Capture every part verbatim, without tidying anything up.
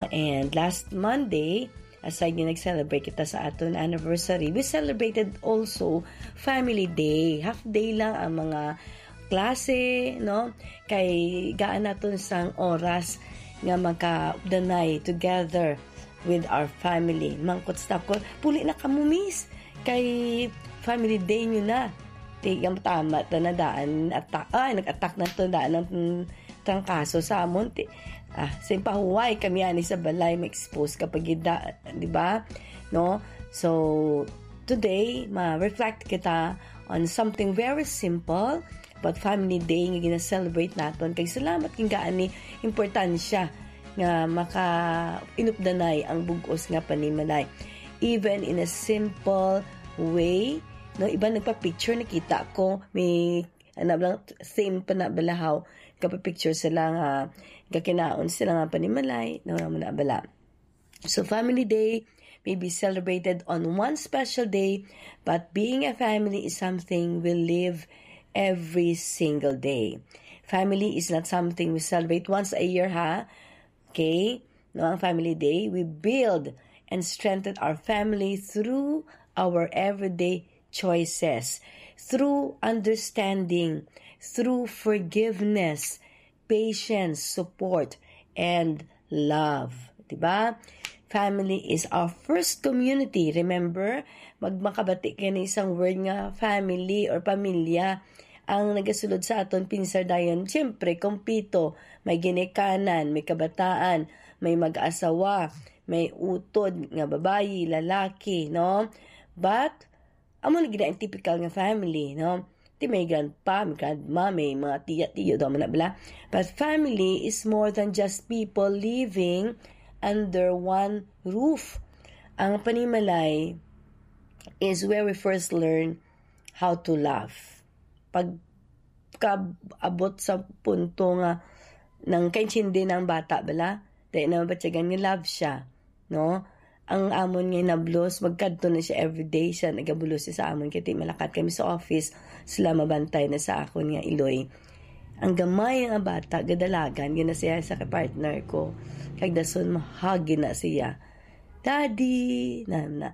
And last Monday, aside nga nag-celebrate kita sa aton anniversary, we celebrated also Family Day. Half day lang ang mga klase, no? Kay gaan naton sang oras nga magkaupdanay together with our family. Mangkot sa ko, "Puli na kamo, miss. Kay Family Day nyo na." Tigang tama ta na daan, attack, ay, nag-attack na to daan ang, mm, trangkaso sa amon. Ti-, ah, sa pahuway kami ani sa balay, ma-expose ka pa gid da, di ba? No? So, today, ma-reflect kita on something very simple, but Family Day nga gina-celebrate naton. Kay salamat king gaani importansya nga maka-inupdanay ang bug-os nga panimalay. Even in a simple way, no, iban nagpa-picture, nakita ko, may, ano lang, same pa na balahaw, kapag-picture sila nga, gakinaon sila nga panimalay, no, mo na bala. So, Family Day may be celebrated on one special day, but being a family is something we live every single day. Family is not something we celebrate once a year, ha? Okay? No, ang Family Day, we build and strengthen our family through our everyday choices, through understanding, through forgiveness, patience, support, and love. Diba? Family is our first community. Remember, mag-, makabati kayo ng isang word nga family or pamilya. Ang nagasulod sa aton pinsar dayon, siyempre, kompleto. May ginikanan, may kabataan, may mag-asawa, may utod nga babayi, lalaki, no? But, amo na gid ang typical nga family, no? Ti may grandpa, may grandma, may mga tiya, tiyo, daw man na bala. But family is more than just people living under one roof. Ang panimalay is where we first learn how to love. Pag kaabot sa punto nga nang kaintindi na ang bata, bala, dahil na mabatyagan nga love siya, no? Ang amon nga nablos, magkadto na siya everyday, siya nagabulos siya sa amon, kay ti malakat kami sa office, sila mabantay na sa akon nga iloy. Ang gamay nga bata, gadalagan, ginasiya sa partner ko. Kag dason, mahagi na siya. "Daddy!" Na, na.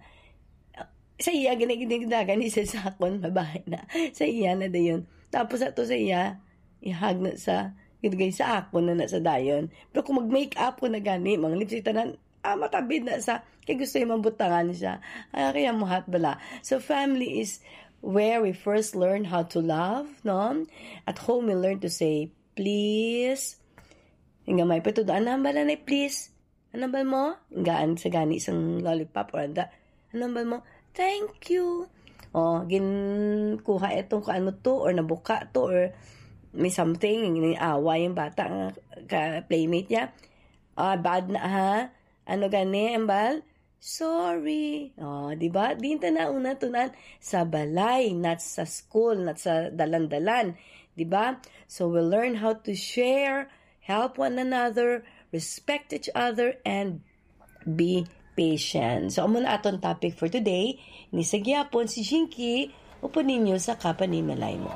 Sa iya, gini-, ginidagan ni siya sa akon, babae na. Sa iya na dayon. Tapos ato sa iya, ihag na sa, ginugay sa akon na na sa dayon. Pero kung mag-make up ko na gani, mga lipstick tanan, ah, matabid na sa, kay gusto yung mabutangan siya. Ah, kaya muhat bala. So, family is where we first learn how to love, no? At home, we learn to say, "Please." Yung gamay pa ito, "Ano bala na, please?" "Ano ba mo?" Gaan sa gani isang lollipop or anda. "Ano ba mo?" "Thank you." Oh, ginkuha itong kung ano to, or nabuka to, or may something, yung away yung bata nga ka playmate niya. "Ah, bad na ha." Ano gani, ambal? "Sorry." Oh, di ba? Din ta na una tunan sa balay, not sa school, not sa dalan-dalan. Di ba? So we learn how to share, help one another, respect each other, and be patient. So, amo na aton topic for today. Ni sa gihapon si Jinky, upod ninyo sa kapanimalay mo.